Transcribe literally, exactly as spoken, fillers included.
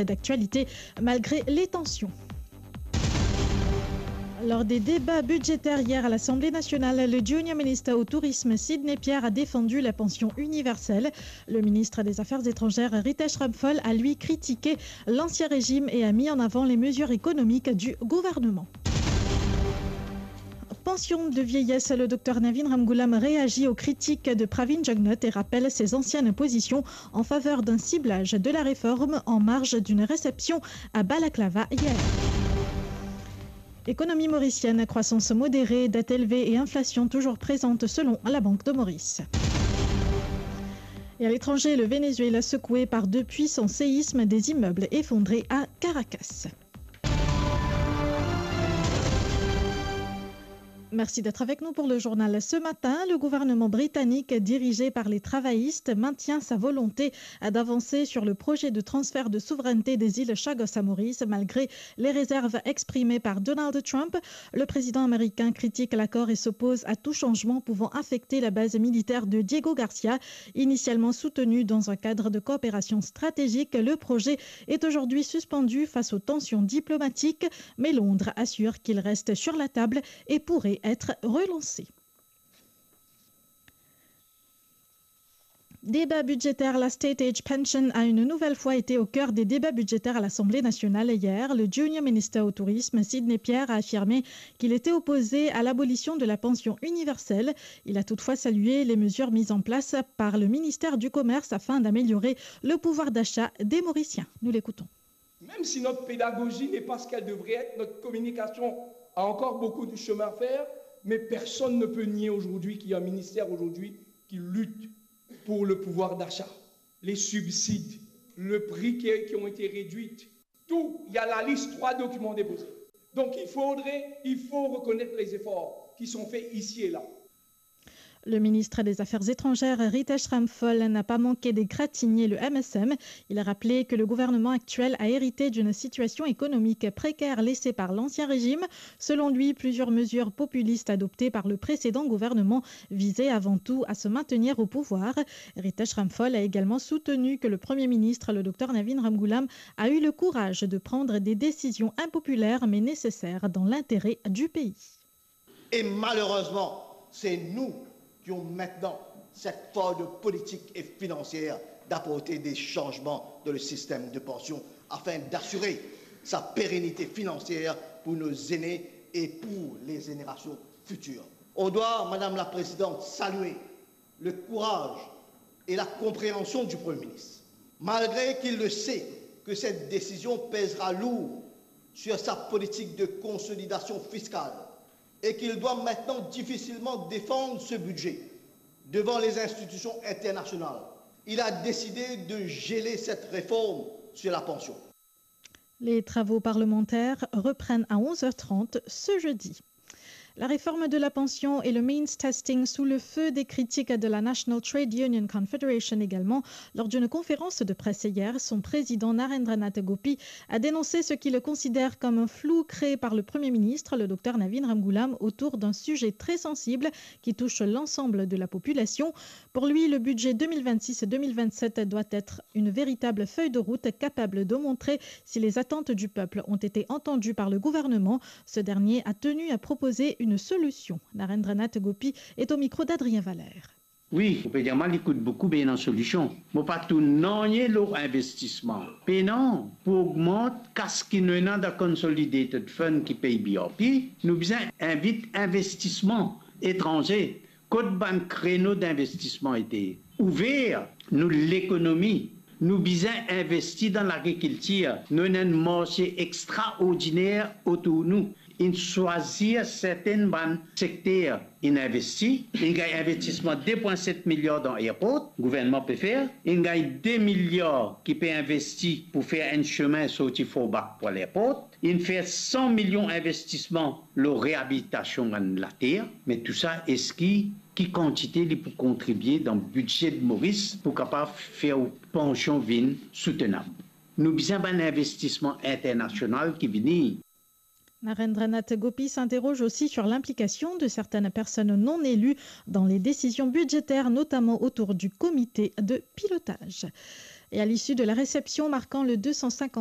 d'actualité malgré les tensions. Lors des débats budgétaires hier à l'Assemblée nationale, le Junior Minister au Tourisme, Sidney Pierre, a défendu la pension universelle. Le ministre des Affaires étrangères, Ritesh Ramphal, a lui critiqué l'ancien régime et a mis en avant les mesures économiques du gouvernement. Pension de vieillesse, le docteur Navin Ramgoolam réagit aux critiques de Pravin Jugnauth et rappelle ses anciennes positions en faveur d'un ciblage de la réforme en marge d'une réception à Balaklava hier. Économie mauricienne, croissance modérée, dette élevée et inflation toujours présente selon la Banque de Maurice. Et à l'étranger, le Venezuela secoué par deux puissants séismes, des immeubles effondrés à Caracas. Merci d'être avec nous pour le journal. Ce matin, le gouvernement britannique, dirigé par les travaillistes, maintient sa volonté d'avancer sur le projet de transfert de souveraineté des îles Chagos à Maurice, malgré les réserves exprimées par Donald Trump. Le président américain critique l'accord et s'oppose à tout changement pouvant affecter la base militaire de Diego Garcia. Initialement soutenu dans un cadre de coopération stratégique, le projet est aujourd'hui suspendu face aux tensions diplomatiques, mais Londres assure qu'il reste sur la table et pourrait être relancé. Débat budgétaire, la State Age Pension a une nouvelle fois été au cœur des débats budgétaires à l'Assemblée nationale hier. Le junior minister au tourisme, Sidney Pierre, a affirmé qu'il était opposé à l'abolition de la pension universelle. Il a toutefois salué les mesures mises en place par le ministère du Commerce afin d'améliorer le pouvoir d'achat des Mauriciens. Nous l'écoutons. Même si notre pédagogie n'est pas ce qu'elle devrait être, notre communication a encore beaucoup de chemin à faire, mais personne ne peut nier aujourd'hui qu'il y a un ministère aujourd'hui qui lutte pour le pouvoir d'achat, les subsides, le prix qui, qui ont été réduits. Tout, il y a la liste, trois documents déposés. Donc il faudrait, il faut reconnaître les efforts qui sont faits ici et là. Le ministre des Affaires étrangères, Ritesh Ramphal, n'a pas manqué d'égratigner le M S M. Il a rappelé que le gouvernement actuel a hérité d'une situation économique précaire laissée par l'ancien régime. Selon lui, plusieurs mesures populistes adoptées par le précédent gouvernement visaient avant tout à se maintenir au pouvoir. Ritesh Ramphal a également soutenu que le Premier ministre, le docteur Navin Ramgoolam, a eu le courage de prendre des décisions impopulaires mais nécessaires dans l'intérêt du pays. Et malheureusement, c'est nous qui avons maintenant cette force politique et financière d'apporter des changements dans le système de pension afin d'assurer sa pérennité financière pour nos aînés et pour les générations futures. On doit, Madame la Présidente, saluer le courage et la compréhension du Premier ministre, malgré qu'il le sait que cette décision pèsera lourd sur sa politique de consolidation fiscale et qu'il doit maintenant difficilement défendre ce budget devant les institutions internationales. Il a décidé de geler cette réforme sur la pension. Les travaux parlementaires reprennent à onze heures trente ce jeudi. La réforme de la pension et le means testing sous le feu des critiques de la National Trade Union Confederation également. Lors d'une conférence de presse hier, son président Narendranath Gopi a dénoncé ce qu'il considère comme un flou créé par le Premier ministre, le docteur Navin Ramgoolam, autour d'un sujet très sensible qui touche l'ensemble de la population. Pour lui, le budget deux mille vingt-six deux mille vingt-sept doit être une véritable feuille de route capable de montrer si les attentes du peuple ont été entendues par le gouvernement. Ce dernier a tenu à proposer une solution. Narendranath Gopi est au micro d'Adrien Valère. Wi, ou pe dir mwa li kout boukou, be ena solision. Mo pa tou nanye lor investisman. Pena, pou ogmant kas ki nou ena dan Consolidated Fund ki pey B R P, nou bizin invit investisman etranze. Kot bann kreno dinvestisman ete ouver? Nou lekonomi, nou bizin investi dan lagrikiltir. Nou ena enn marse extraordiner otour nou. Inn swazir sertenn bann sekter, inn investi. Inn gagn investisman de pwin set miliar dan airport, gouvernman pe fer. Inn gagn de miliar ki pe investi pou fer enn semin sorti Forbach pou al airport. Inn fer san milion investisman lor reabilitasion bann later, me tousa, eski ki kantite li pou kontribie dan bidze de Moris pou kapav fer ou pansion vinn soutenab? Nou bizin bann investisman internasional ki vini. Narendranath Gopi s'interroge aussi sur l'implication de certaines personnes non élues dans les décisions budgétaires, notamment autour du comité de pilotage. Et à l'issue de la réception marquant le deux cent cinquantième